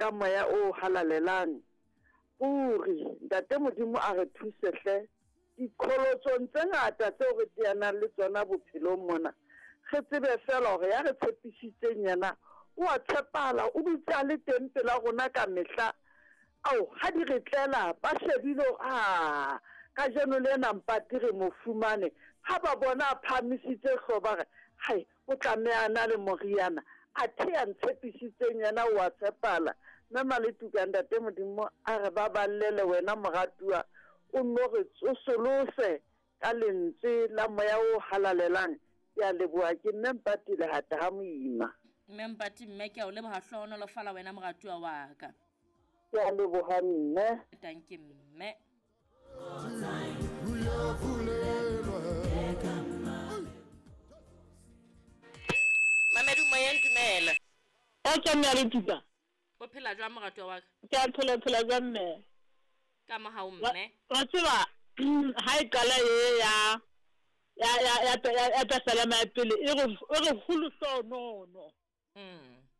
ka moya o halalelang. Ruri, Ntate Modimo a re thuse hle diqholotsong tse ngata tseo re teanang le tsona bophelong mona. Re tsebe feela hore ya re tshepisitseng yena o a tshepahala, o dutse a le teng pela rona ka mehla. Ao, ha di re tlela, ba shebile hore, ah, kajeno lena Mpati re mo fumane. Ha ba bona a phahamisitse hlooho ba re, Hai, O tlameha a na le moriana. Athe ya ntshepisitseng yena o a tshepala. Mme Maletuka, Ntate Modimo a re baballele wena moratuwa, o nno re tsosolose ka lentswe la Moya o Halalelang. Ke a leboha. Ke Mme Mpati Lehata ha Moima. Mme Mpati, Mme ke a o leboha hlohonolofala wena moratuwa wa ka. Ke a leboha mme. Tanki mme. Mamedu moyeng dumela. O tswa mme a le tuka. O phela jwang moratuwa wa ka? Ke a phela phela jwang mme? Ka mohau mme. Wa tseba ha e qala e ya ya ya ya ya pesalema ya pele e re e re ho lehlohonono.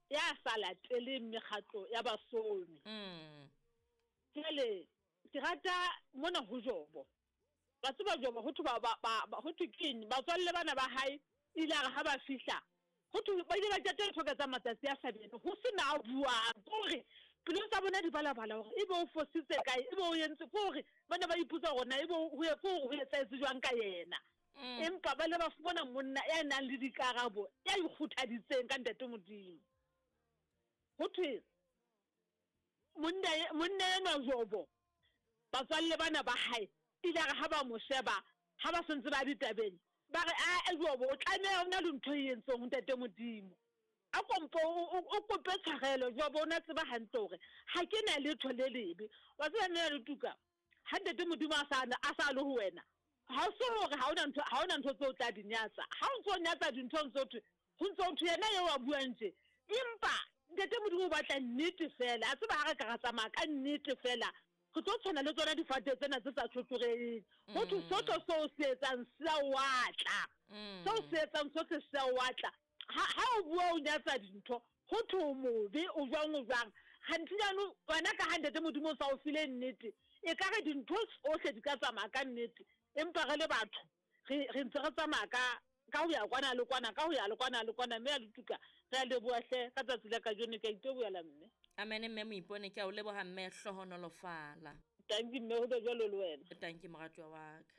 Ya sa lateleng mekgatlo ya basomi. Jwale ke rata mona ho Jobo. Wa tseba Jobo ho thwe ba, ba, ba, ba, ho thwe keng, batswalle bana ba hae, ile a re ha ba fihla, ho thwe ba ile ba qeta ntho ka tsa matsatsi a hlabene, ho se na a buang. Ke hore pelong tsa bona di balabala hore ebe o fositse kae, ebe o entse, ke hore ba ne ba ipotsa hore na ebe ho, ke hore ho etsahetse jwang ka yena. Empa ba ile ba fumana monna ya nang le dikarabo, ya ikgothaditseng ka Ntate Modimo. Ho thwe Monna, monna enwa Jobo, batswalle bana ba hae, ile a re ha ba mo sheba, ha ba sentse ba ditabeng, ba re, Ae, Jobo, o tlameha o na le ntho e entseng ho Ntate Modimo. A ko mpo o, o, o kope tshwarelo. Jobo o ne a tseba hantle hore ha ke na letho le lebe. Wa tseba, Mme Ratuka, ha Ntate Modimo a sa, a sa le ho wena, ha o se hore ha ona ntho, ha ona ntho tseo o tla di nyatsa. Ha o ntso o nyatsa dintho, o ntso thwe, ho ntso ho thwe yena eo a buang tje. Empa Ntate Modimo o batla nnete feela. A tseba ha re ka ra tsamaya ka nnete feela, re tlo tshwana le tsona difate tsena tse sa tjhotjhoreheng. Ho thwe sohle seo o se etsang se a o atla. Seo o se etsang sohle se a o atla. Ha, ha o bua o nyatsa dintho, ho thwe o mobe, o jwang, o jwang. Kganthe jaanong wena ka ha Ntate Modimo o sa o file nnete, ekare dintho tsohle di ka tsamaya ka nnete. Empa re le batho, re, re ntse re tsamaya ka, ka ho ya kwana le kwana, ka ho ya le kwana le kwana. Mme a Letuka, re a leboha hle ka tsatsi la kajeno. Ke a itebohela, mme. Amen, mme Moipone. Ke a o leboha, mme. Hlohonolofala. Tanki, mme. Ho be jwalo le wena. Tanki, moratuwa wa ka.